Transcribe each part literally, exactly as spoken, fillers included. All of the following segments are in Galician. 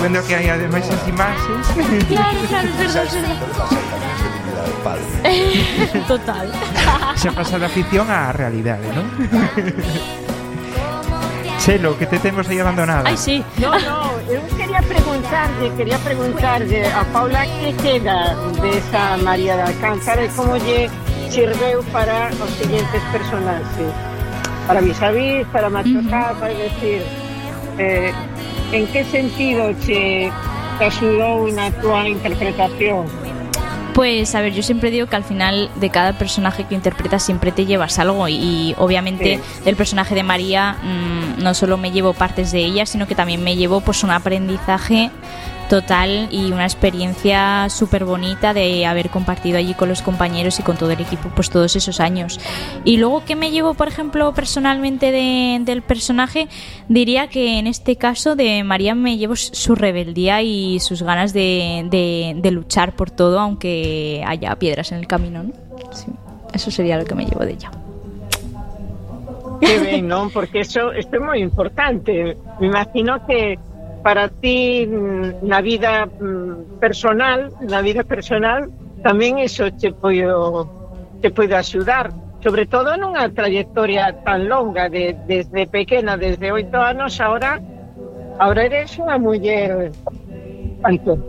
Vendo que hai ademais as imaxes. Claro, claro, é verdade, é verdade. Total. Xa pasa da ficción á realidade, non? Chelo, que te temos aí abandonada. Ai, sí. No, no, eu quería preguntarlle, quería preguntarlle a Paula que queda desa María de Alcázar e como lle sirveu para os siguientes personaxes. Para Vis-a-Vis, para Machoca, uh-huh. para decir, eh, en que sentido che te axudou na tua interpretación? Pues a ver, yo siempre digo que al final de cada personaje que interpretas siempre te llevas algo y, y obviamente sí. Del personaje de María mmm, no solo me llevo partes de ella, sino que también me llevo pues un aprendizaje total y una experiencia súper bonita de haber compartido allí con los compañeros y con todo el equipo pues todos esos años. Y luego, ¿qué me llevo, por ejemplo, personalmente de, del personaje? Diría que en este caso de María me llevo su rebeldía y sus ganas de, de, de luchar por todo, aunque haya piedras en el camino, ¿no? Sí, eso sería lo que me llevo de ella. Qué ben, non? Porque eso, esto é moi importante. Me imagino que para ti na vida personal, na vida personal, tamén iso te podo te podo axudar, sobre todo nunha trayectoria tan longa de, desde pequena, desde oito anos, ahora ahora eres unha muller ¿cuánto?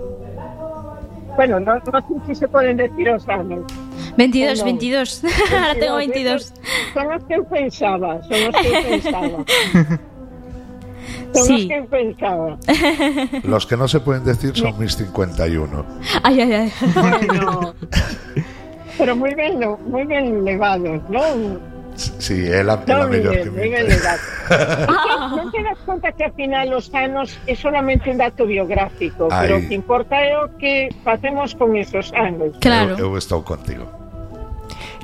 Bueno, no, no sé si se poden decir os anos. veintidós, veintidós. Ahora tengo veintidós. Son os que eu pensaba, son os que eu pensaba. Son sí. los que pensaba. Los que no se pueden decir son mis cincuenta y uno. Ay, ay, ay. Bueno, pero muy bien, muy bien levados, ¿no? Sí, é la, no, la mellor bien, que muy bien levados. Non te das conta que ao final os anos é solamente un dato biográfico, Ay. Pero o que importa é o que facemos con esos anos. Claro. Eu, eu estou contigo.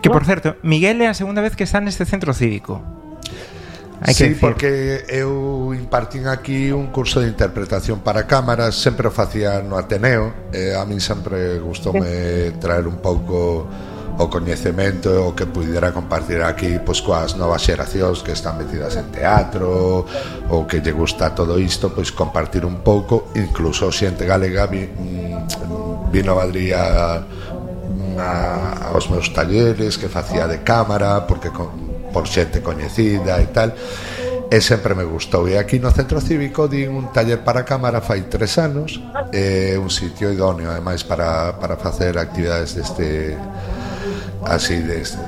Que, por certo, Miguel é a segunda vez que está neste centro cívico. Hai sí, que porque eu impartín aquí un curso de interpretación para cámaras, sempre o facía no Ateneo, e a min sempre gustoume traer un pouco o coñecemento o que pudera compartir aquí pois coas novas xeracións que están metidas en teatro ou que lle gusta todo isto, pois compartir un pouco, incluso xente galega vi, vino a Madrid a, a, aos meus talleres que facía de cámara porque con por xente coñecida e tal, e sempre me gustou. E aquí no Centro Cívico din un taller para cámara fai tres anos, é un sitio idóneo ademais para, para facer actividades deste así deste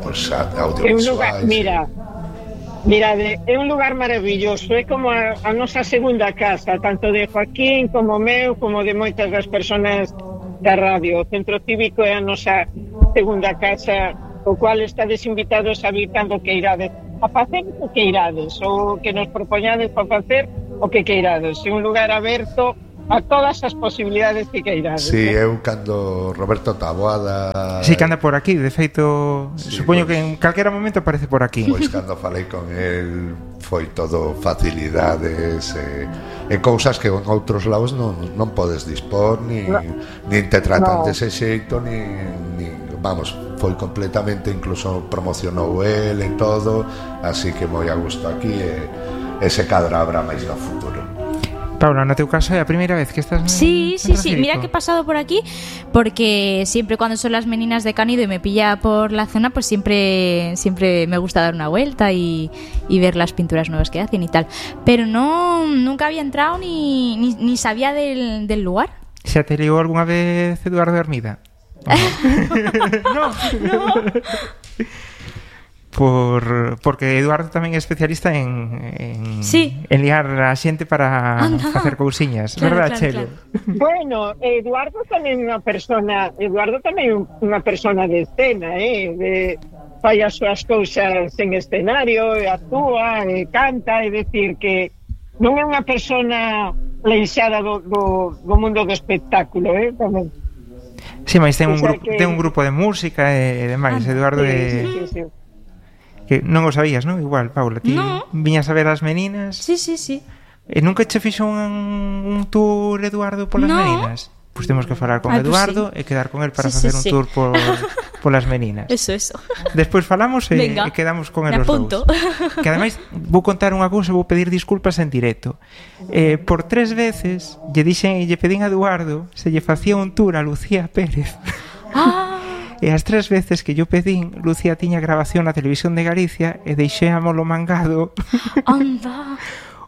pues, audiovisuais. Mira, mira, é un lugar maravilloso, é como a, a nosa segunda casa, tanto de Joaquín como meu, como de moitas das persoas da radio. O Centro Cívico é a nosa segunda casa, o cual estades invitados a vir cando que irades a facer o que irades, ou que nos propoñades para facer o que queirades. É un lugar aberto a todas as posibilidades que queirades. Si, sí, eu cando Roberto Taboada... Si, sí, que anda por aquí, de feito, sí, supoño pues, que en calquera momento aparece por aquí. Pois cando falei con el foi todo facilidades e, e cousas que en outros lados non, non podes dispor, ni, no. nin te tratan no. dese xeito, ni... ni vamos, foi completamente, incluso promocionou el e todo, así que moi a gusto aquí e ese cadro habrá máis no futuro. Paula, no teu caso é a primeira vez que estás en Sí, sí, sí, mira que he pasado por aquí porque siempre cuando son las meninas de Canido y me pilla por la zona, pues siempre siempre me gusta dar una vuelta y, y ver las pinturas nuevas que hacen y tal, pero no, nunca había entrado ni, ni, ni sabía del, del lugar. ¿Se te ligó alguna vez Eduardo Hermida? No, no. Por, porque Eduardo tamén é especialista en, en, sí. en liar a xente para ah, no. facer cousiñas, claro, verdad, claro, Chelo? Claro. Bueno, Eduardo tamén é unha persona, Eduardo tamén é unha persona de escena, eh, de fai as súas cousas en escenario, e actúa, e canta, é dicir que non é unha persona leixada do, do, do mundo do espectáculo, eh, tamén. Sí, mas ten un, grupo, que... ten un grupo de música e demais, ah, Eduardo sí, é... Sí, sí, sí. Que non o sabías, non? Igual, Paula, ti no. viñas a ver as meninas. Sí, sí, sí. E nunca che fixo un, un tour Eduardo polas no. meninas? Pois pues temos que falar con Ay, Eduardo pues sí. e quedar con el para sí, facer sí, un sí. tour por, polas meninas. Eso, eso. Despois falamos e, e quedamos con eles apunto. dous. Que ademais vou contar unha cousa, vou pedir disculpas en directo. Eh, por tres veces lle dixen e lle pedín a Eduardo se lle facía un tour a Lucía Pérez. Ah. E as tres veces que yo pedín, Lucía tiña grabación na Televisión de Galicia e deixéamolo mangado. Anda.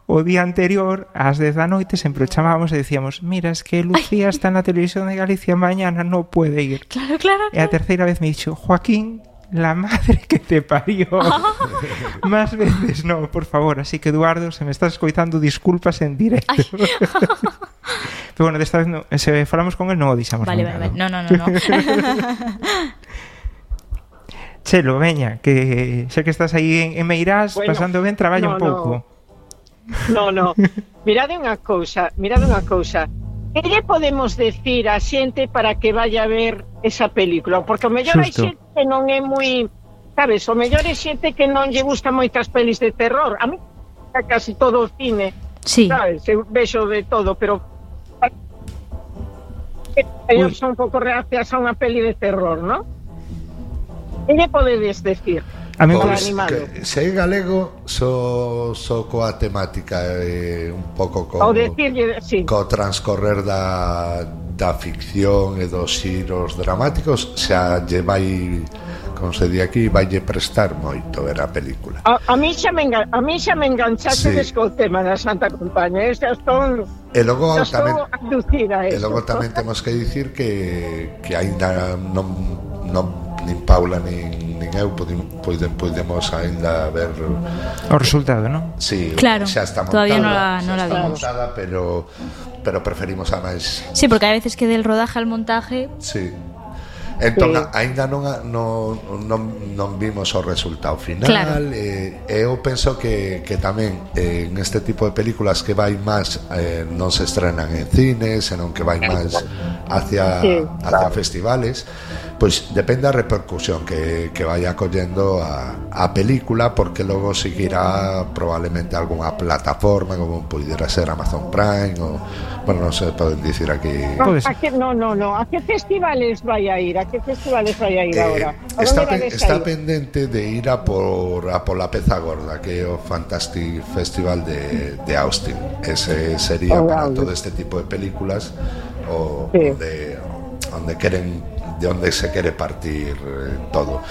O día anterior, ás dez da noite, sempre o chamábamos e decíamos: mira, es que Lucía Ay. está na Televisión de Galicia, mañana no puede ir. Claro, claro, claro. E a terceira vez me dixo: Joaquín, la madre que te parió. Ah. Más veces no, por favor. Así que, Eduardo, se me estás escoitando, disculpas en directo. Pero bueno, desta vez no, se falamos con él, non o dixamos. Vale, nunca, vale, vale. No, no, no, no. Chelo, veña, que xa que estás aí en, en Meirás, bueno, pasando ben, traballa no, un pouco. No. No, no. Mirade unha cousa, mirade unha cousa. Que lle podemos decir a xente para que vaya a ver esa película? Porque o mellor hai xente que non é moi, sabes, o mellor é xente que non lle gusta moitas pelis de terror. A mí casi todo o cine, sí. Sabes, eu vexo de todo, pero ellos son un pouco reacias a unha peli de terror, ¿no? Que lle podedes decir? A mí pues, que, se é galego so, so coa temática eh, un pouco co, decir, sí. co transcorrer da, da ficción e dos xiros dramáticos, xa lle vai, como se di aquí, vai lle prestar moito ver a película. A, a mí xa me, engan, a mí xa me enganchaste sí. co tema da Santa Compaña, xa estou e logo tamén, e logo tamén temos que dicir que, que aínda non, non nin Paula nin, nin eu podemos, podemos ainda ver o resultado, non? Sí, claro, xa está montada, todavía non la, non la está vimos montada, pero, pero preferimos a máis. Sí, porque hai veces que del rodaje al montaje. Sí. Entón, sí. aínda non, non, non, non vimos o resultado final. Claro. E eh, eu penso que, que tamén eh, en este tipo de películas que vai máis eh, non se estrenan en cines, senón que vai máis hacia, sí, hacia claro. festivales. Pois depende da repercusión que, que vaya collendo a, a película, porque logo seguirá probablemente algunha plataforma como pudiera ser Amazon Prime ou, bueno, non se poden dicir aquí. No, a que, no, no, no, a que festivales vai a ir? A que festivales vai a ir eh, agora? Está, pe, está pendente de ir a por a por la Peza Gorda, que é o Fantastic Festival de, de Austin. Ese sería oh, para wow. todo este tipo de películas o sí. onde, onde queren de onde se quere partir eh, todo.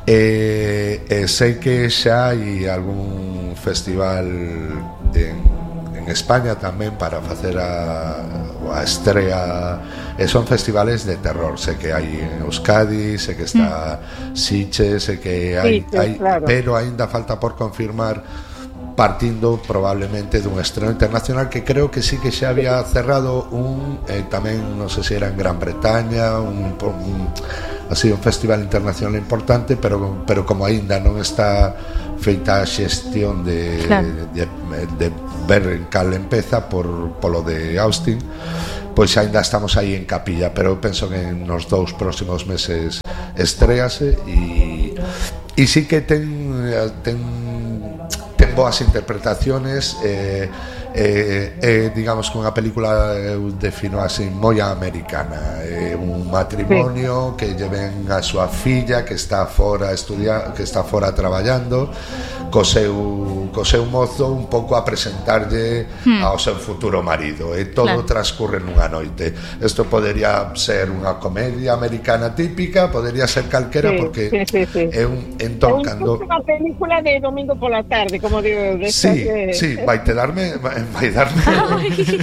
Eh, eh, sei que xa hai algún festival en, en España tamén para facer a, a estrea, e son festivales de terror. Sei que hai en Euskadi, sei que está mm. Sitges, sei que hai, sí, sí, hai claro. Pero aínda falta por confirmar, partindo probablemente dun estreno internacional que creo que sí que xa había cerrado un eh, tamén, non sei se era en Gran Bretaña, un, un así un festival internacional importante, pero pero como aínda non está feita a xestión de, claro. de, de, de ver en cal empeza por polo de Austin, pois aínda estamos aí en capilla, pero eu penso que nos dous próximos meses estréase e e sí que ten ten ten boas interpretaciones, eh, eh, eh, digamos que unha película eu defino así moi americana, eh, un matrimonio sí. que lleven a súa filla que está fora estudiando, que está fora traballando co seu, co seu mozo un pouco a presentarlle hmm. ao seu futuro marido, e todo claro. transcurre nunha noite. Isto podería ser unha comedia americana típica, podería ser calquera, sí, porque sí, sí, sí. é un entón cando unha película de domingo pola tarde, como digo, de sí, que... sí, vai te darme vai darme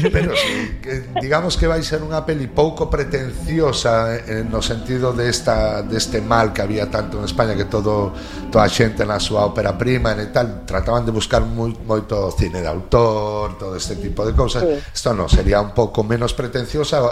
pero sí, que, digamos que vai ser unha peli pouco pretenciosa en, no sentido de esta deste mal que había tanto en España, que todo toda a xente na súa ópera prima e tal, trataban de buscar moi, moito cine de autor, todo este tipo de cousas. Isto sí. non, sería un pouco menos pretenciosa.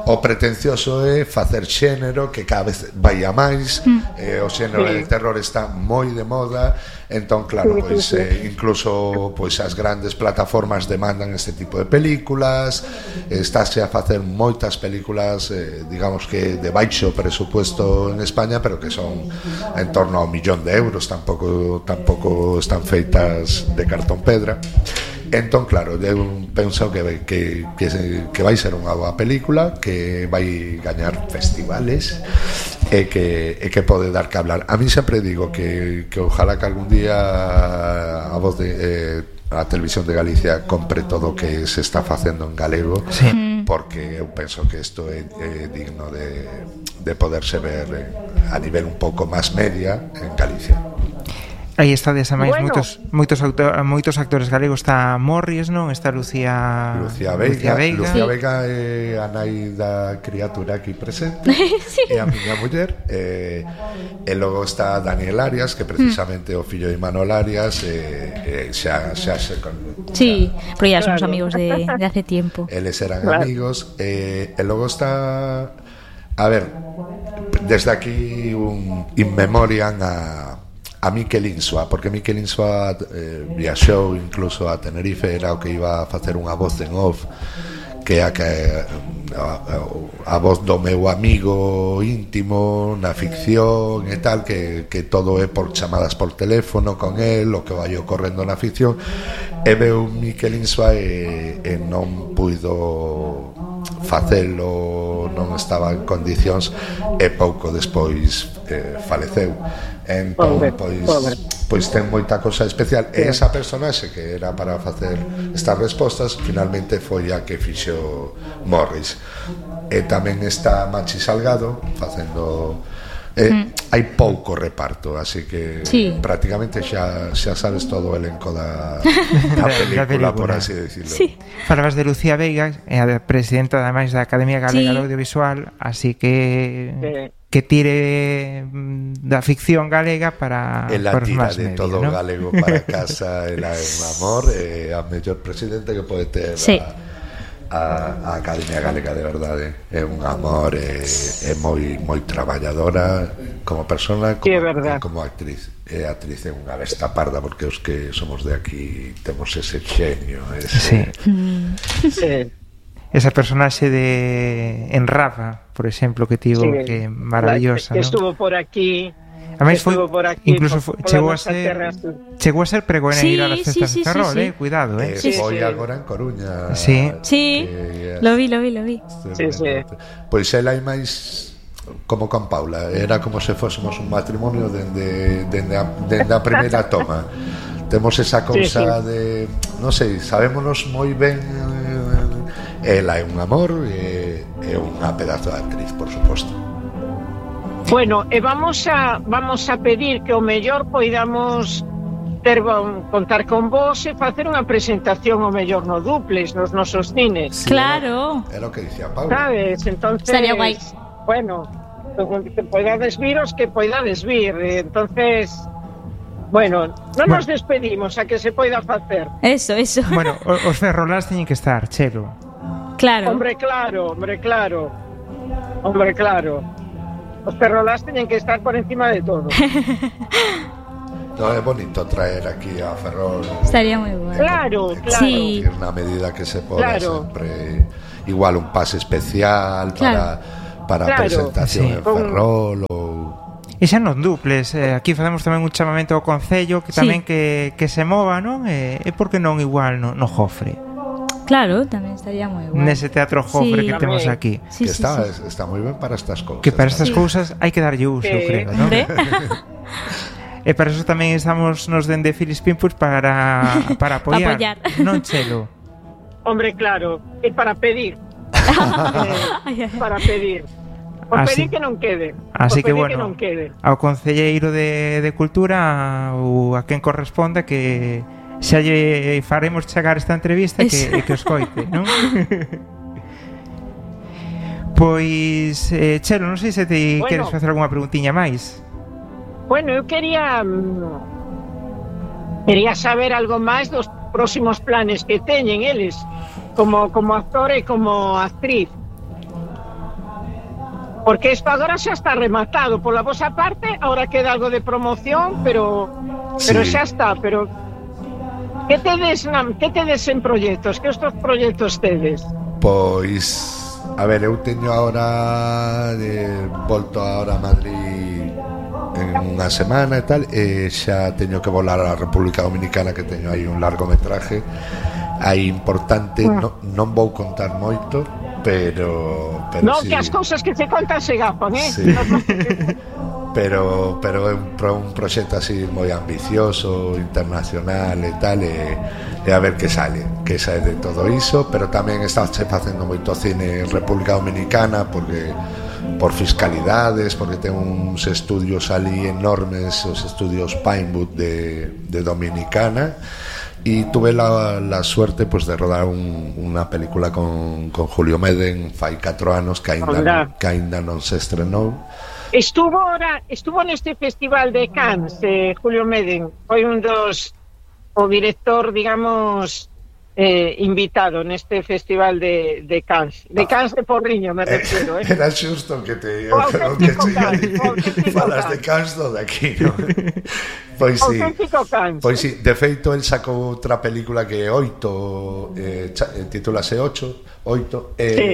O pretencioso é facer xénero, que cada vez vai a máis, mm. eh, o xénero sí. de terror está moi de moda, entón claro, sí, pois, sí, sí. Eh, incluso pois as grandes plataformas demandan este tipo de películas, estáse a facer moitas películas, eh, digamos que de baixo presupuesto en España, pero que son en torno a un millón de euros, tampouco tampouco están feitas de cartón pedra. Entón, claro, eu penso que, que, que, que vai ser unha boa película, que vai gañar festivales e que, e que pode dar que hablar. A mí sempre digo que, que ojalá que algún día a voz de eh, a Televisión de Galicia compre todo o que se está facendo en galego, sí. porque eu penso que isto é, é digno de, de poderse ver a nivel un pouco máis media en Galicia. Aí está desamais Bueno. moitos moitos autor, moitos actores galegos, está Morris, non? Está Lucía Lucía Veiga, Lucía Veiga, Lucía Veiga é a nai da criatura aquí presente, Sí. é a miña muller, e, e logo está Daniel Arias, que precisamente é o fillo de Manuel Arias, e, e xa, xa se con, Sí, pero ya somos Claro. amigos de, de hace tiempo. eles eran Claro. amigos, e, e logo está, a ver, desde aquí un in memoriam a a Miquel Insua, porque Miquel Insua eh, viaxou incluso a Tenerife, era o que iba a facer unha voz en off, que é a, que, a, a, a voz do meu amigo íntimo na ficción e tal, que, que todo é por chamadas por teléfono con el, o que vai ocorrendo na ficción, e veu Miquel Insua e, e non puido facelo, non estaba en condicións, e pouco despois eh, faleceu. Entón, Pobre, pois, pobre. pois ten moita cosa especial, e esa personaxe que era para facer estas respostas finalmente foi a que fixo Morris. E tamén está Machi Salgado facendo eh, mm. hai pouco reparto, así que Sí. prácticamente xa, xa sabes todo o elenco da, da película, película. por así decirlo. Sí. Falabas de Lucía Veiga, é a presidenta ademais da Academia Galega Sí. do Audiovisual, así que Sí. que tire mm, da ficción galega para Ela para os tira máis de media, todo ¿no? galego para casa, ela é un amor, é a mellor presidente que pode ter Sí. a, a, a Academia Galega, de verdade. É un amor, é, é moi moi traballadora como persona, como, Sí, é verdad. como actriz. É actriz é unha besta parda, porque os que somos de aquí temos ese xenio, Sí. ese, Sí. Esa personaxe de en Rafa, por exemplo, que tivo Sí. que é maravillosa, que ¿no? estuvo por aquí. Ademais foi estuvo por aquí, incluso por- foi, por chegou a las ser terras. chegou a ser pregoneira Sí, das sí, festas sí, de Ferrol, sí, sí. eh, cuidado, eh. eh, Sí, foi sí. agora en Coruña. Sí. Sí, que- lo vi, lo vi, lo vi. Sí, sí. Pois ela é máis como con Paula, era como se fósemos un matrimonio dende, dende, a, dende a primeira toma. Temos esa cousa Sí, sí. de, non sei, sabémonos moi ben, eh, ela é un amor e é unha pedazo de actriz, por suposto. Bueno, e vamos a vamos a pedir que o mellor poidamos ter bon, contar con vos e facer unha presentación o mellor no Duplex, nos nosos cines. Sí, Claro. Era o que dicía Paula. Sabes? Entonces, Estaría guai. Bueno, que poidades viros, que poidades vir. Entonces, bueno, non nos despedimos a que se poida facer. Eso, eso. Bueno, o- os ferrolás teñen que estar, Chelo. Claro. Hombre, claro, hombre, claro. Hombre, claro. Os perrolás teñen que estar por encima de todo. No, é bonito traer aquí a Ferrol. Estaría moi bueno. Claro, claro. Sí. Na medida que se poda, Claro. sempre igual un pase especial Claro. para para Claro. presentación Sí. en Ferrol ou E xa non duples, eh, aquí facemos tamén un chamamento ao Concello que Sí. tamén que, que se mova, non? E, e por que non igual no, no Jofre, Claro, tamén estaría moi guai. nese teatro Jofre Sí. que temos Tamén. aquí. Sí, que sí, está, sí. está moi ben para estas cousas. Que para estas Sí. cousas hai que darlle uso, eu Sí. creo, non? Hombre. E para eso tamén estamos nos dende Filispín pues, para, para apoiar, Apoiar. non Chelo? Hombre, claro. E para pedir. Eh, para pedir. Por Así- pedir que non quede. Así que Por pedir bueno, que non quede. ao concelleiro de, de Cultura ou a quen corresponda que xa lle faremos chegar esta entrevista e que, Eso. e que os coite, non? Pois, eh, Chelo, non sei se te Bueno. queres facer algunha preguntiña máis. Bueno, eu quería mm, quería saber algo máis dos próximos planes que teñen eles como como actor e como actriz. Porque isto agora xa está rematado pola vosa parte, agora queda algo de promoción, pero pero Sí. xa está, pero que tedes, na, que tedes en proxectos? Que estos proxectos tedes? Pois, a ver, eu teño agora de, volto agora a Madrid en unha semana e tal, e xa teño que volar á República Dominicana, que teño aí un largometraje aí importante, no, non vou contar moito pero, pero no, sí. que as cousas que se contan se gafan, eh? Sí. pero pero é un, pro, un proxecto así moi ambicioso, internacional e tal, e, e a ver que sale que sale de todo iso, pero tamén está facendo moito cine en República Dominicana porque por fiscalidades, porque ten uns estudios ali enormes, os estudios Pinewood de, de Dominicana, y tuve la, la suerte pues de rodar un, una película con, con Julio Meden fai catro anos que ainda, que ainda non se estrenou. Estuvo ahora, estuvo neste festival de Cannes, eh, Julio Meden, foi un dos, o director, digamos, eh, invitado neste festival de, de Cannes, de Cannes de Porriño, me refiero, eh. Era xusto que te o o que te falas de Cannes do de aquí, ¿no? Pois sí, pois sí, de feito el sacou outra película que é Oito, eh, titúlase Ocho, Oito, e eh, sí.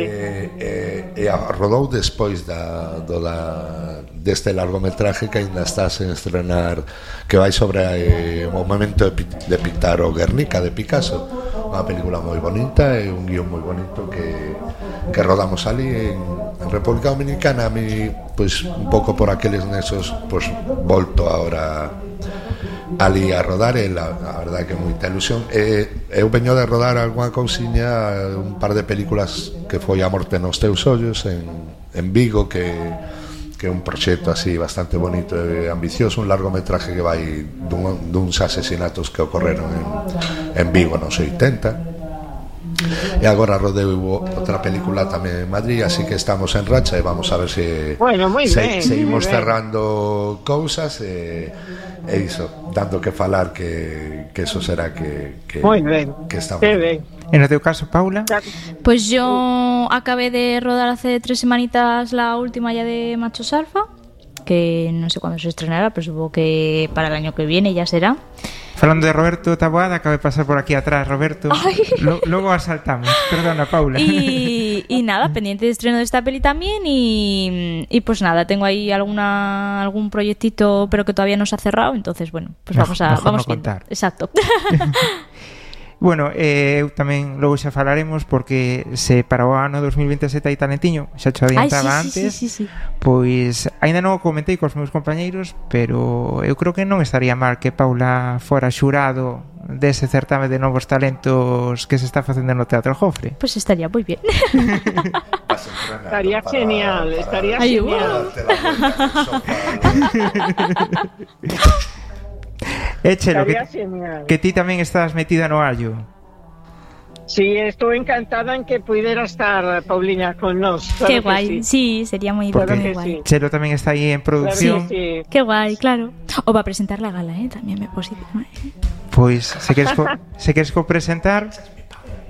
eh, eh, rodou despois da, do da, deste largometraje que ainda está sen estrenar, que vai sobre eh, o momento de, de pintar o Guernica de Picasso, unha película moi bonita e un guión moi bonito que, que rodamos ali en, en República Dominicana. A mí, pois, un pouco por aqueles nesos, pois, volto ahora ali a rodar, e la, a verdade que é moita ilusión. E, eu veño de rodar algunha cousiña, un par de películas que foi A morte nos teus ollos en, en Vigo, que, que é un proxecto así bastante bonito e ambicioso, un largometraje que vai dun, duns asesinatos que ocorreron en, en Vigo nos oitenta. E agora rodeu outra película tamén en Madrid, así que estamos en racha e vamos a ver se bueno, moi se, ben, seguimos moi cerrando cousas e, e iso, dando que falar, que, que eso será que, que, moi ben, que estamos que ben. En o teu caso, Paula? Pues yo acabé de rodar hace tres semanitas la última ya de Machos Alfa, que no sé cuándo se estrenará, pero supongo que para el año que viene ya será. Falando de Roberto Taboada, acaba de pasar por aquí atrás, Roberto. Lo, luego asaltamos. Perdona, Paula. Y, y nada, pendiente de estreno de esta peli también. Y, y pues nada, tengo ahí alguna algún proyectito, pero que todavía no se ha cerrado. Entonces, bueno, pues vamos a mejor vamos no viendo. contar. Exacto. Bueno, eh, eu tamén logo xa falaremos, porque se para o ano dos mil veintisiete hai talentiño, xa te adiantaba Ay, sí, antes, sí, sí, sí, sí. Pois aínda non o comentei cos meus compañeiros, pero eu creo que non estaría mal que Paula fora xurado dese certame de novos talentos que se está facendo no Teatro Jofre. Pues estaría moi bien. Estaría genial, estaría Ay, genial. Échelo, que, genial. que ti tamén estás metida no allo. Sí, estou encantada en que puidera estar Pauliña con nós. Claro Qué que guay, sí. sí, sería moi Claro muy que guay. sí. Chelo tamén está aí en producción. Claro que sí. Qué guay, claro. O va a presentar la gala, ¿eh? También me posito. Pois, se queres co, se queres co presentar,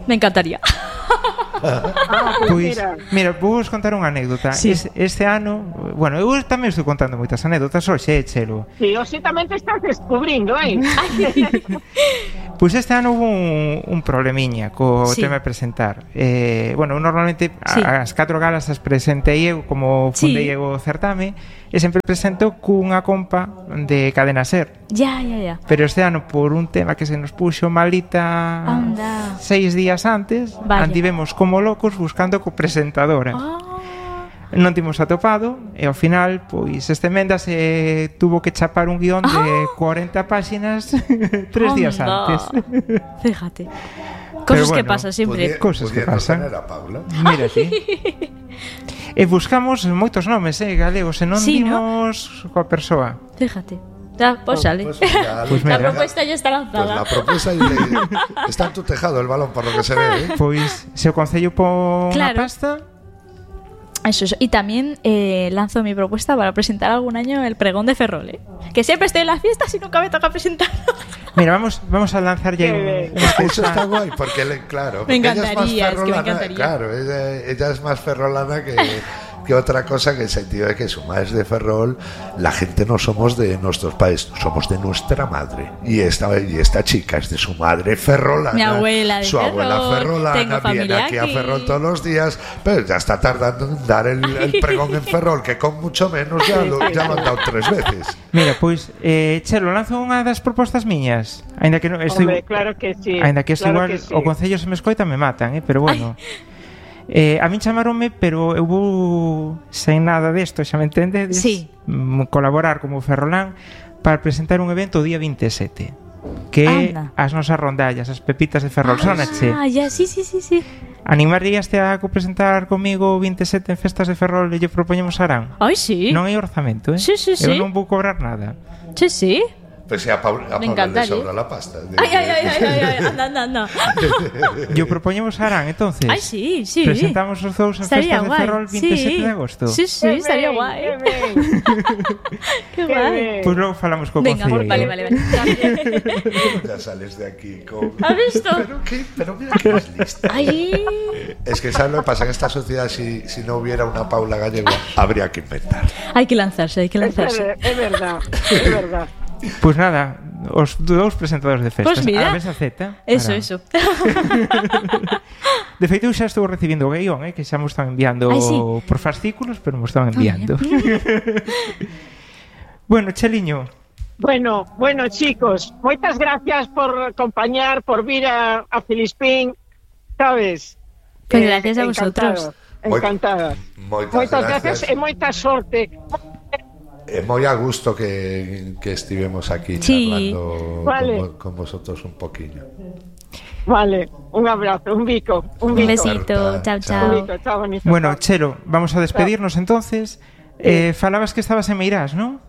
Me encantaría. Ah, pues pois, mira. mira, vou vos contar unha anécdota. Sí. Es, este ano, bueno, eu tamén estou contando moitas anécdotas hoxe, eh, Chelo. Sí, hoxe tamén te estás descubrindo, eh? Pois este ano hubo un, un problemiña co Sí. tema de presentar. Eh, bueno, eu normalmente Sí. a, as catro galas as presentei eu como fundei Sí. eu o certame, e sempre presento cunha compa de Cadena Ser. Ya, ya, ya. Pero este ano, por un tema que se nos puxo malita Anda. seis días antes, Vaya. andivemos como locos buscando co presentadora. Ah. Non timos atopado, e ao final, pois, este Mendas eh, tuvo que chapar un guión de Ah. cuarenta páxinas tres días Anda. antes. Fíjate. Pero Cosas que bueno, pasan siempre. Podía- cosas que pasan. Tener a Paula. Mira ti. E buscamos moitos nomes, eh, galegos, e non Sí, ¿no? dimos coa persoa. Fíjate. Ya, pues sale. Pues mira, Pues La mira. propuesta ya está Pues la lanzada. propuesta y le- está en tu tejado el balón, por lo que se ve, ¿eh? Pois, se o Concello pon Claro. a pasta, Eso es. Y también eh, lanzo mi propuesta para presentar algún año el pregón de Ferrol, ¿eh? Que siempre estoy en las fiestas y nunca me toca presentarlo. mira, vamos vamos a lanzar ya un, Qué unha Eso está cousa. guay, porque le- claro, Me porque ella es más encantaría, es que me ferrolana, encantaría. claro, ella, ella es más ferrolana que, que otra cosa, que en el sentido de que su madre es de Ferrol, la gente no somos de nuestros padres, somos de nuestra madre. Y esta, y esta chica es de su madre ferrolana. Mi abuela de Su abuela Ferrol, ferrolana tengo viene familia aquí a aquí. Ferrol todos los días, pero ya está tardando en dar el, el pregón en Ferrol, que con mucho menos ya lo, ya lo han dado tres veces. Mira, pois, eh, Chelo, lanzo unha das propostas miñas. Ainda que non estou Hombre, claro que sí. Ainda que isto claro igual que sí. o Concello se me escoita me matan, eh, pero bueno. Eh, a min chamaronme, pero eu vou sen nada desto, xa me entendedes? Sí. Mm, colaborar como Ferrolán para presentar un evento o día vinte e sete. Que Anda. as nosas rondallas, as pepitas de Ferrol, sonache. Ah, ya, sí, sí, sí, sí. Animaríaste a presentar comigo o vinte e sete en festas de Ferrol e lle propoñemos Arán? Ai, sí. Non hai orzamento, eh? Sí, sí, Eu sí. non vou cobrar nada. Sí, sí. Pues si a Paula, a Me Paula le encantaría. sobra la pasta. De- Ay, ay, ay, ay, ay, ay, anda, anda, anda. Yo propoñemos Arán, entonces. Ay, sí, sí. Presentamos os dous en Estaría festas de guai. Ferrol vinte e sete Sí. de agosto. Sí, sí, Qué estaría ben, guai. qué ben, Qué qué guai. ben. Pois logo falamos co Venga, concelleiro. vale, vale, vale. Ya sales de aquí con... ¿Has visto? Pero, qué, pero mira que es lista. Ay. Es que ¿sabes lo que pasa? En esta sociedad, si, si no hubiera una Paula Gallego, habría que inventar. Hay que lanzarse, hay que Es lanzarse. ver- es verdad, es verdad. Pois nada, os dous presentadores de festas. Pois mira. A Mesa Z. Eso, Arán. eso. De feito, eu xa estou recibindo o guión, eh, que xa me están enviando Ai, sí. por fascículos, pero me están enviando. Bueno, Cheliño, Bueno, bueno, chicos, moitas gracias por acompañar, por vir a, a Filispín, sabes? Pues Eh, gracias a vosotros. Encantada. Moitas, Moitas gracias. gracias e moita sorte. É moi a gusto que, que estivemos aquí Sí. charlando Vale. con, vo- con vosotros un poquinho. Vale, un abrazo, un bico, un Un bico. besito. Chao, Un chao. bico, chao, bonito. bueno, chao. Chelo, vamos a despedirnos entonces. Eh, falabas que estabas en Meirás, ¿no?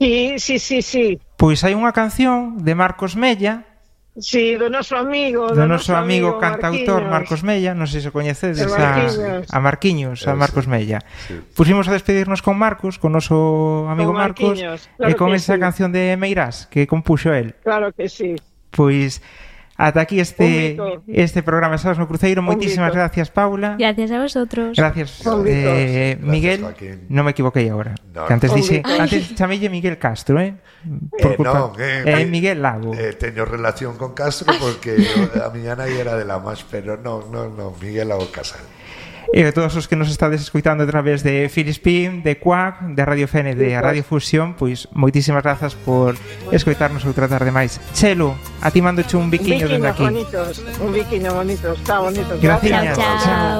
Sí, sí, sí, sí. Pois hai unha canción de Marcos Mella, Sí, do noso amigo, do noso amigo cantautor Marquiños. Marcos Mella, non sei se coñecedes De a, Marquiños. a Marquiños, a Eh, Marcos sí. Mella. Sí. Pusimos a despedirnos con Marcos, con noso amigo Con Marcos, Marquiños, e claro con que esa sí. canción de Meirás que compuxo el. Claro que sí. Pois ata aquí este Un mito. este programa Sábados no Cruceiro. Moitísimas mito. gracias, Paula. Gracias a vosotros. Gracias, Un mito. eh, Miguel. Joaquín. Non me equivoquei agora. No, que antes no. dixe, Un mito. antes chamelle Miguel Castro, eh? Eh, non, eh, eh, eh, Miguel Lago. Eh, teño relación con Castro porque a miña nai era de la más, pero non, non, non, Miguel Lago Casal. E a todos os que nos estades escoitando a través de Filispín, de Quack, de Radio F N, de Radio Fusión, pois moitísimas grazas por escoitarnos outra tarde máis. Chelo, a ti mandoche un Un biquiño biquiño dende aquí. bonitos, un biquiño bonito, está bonito. Graciñas. Chao, chao.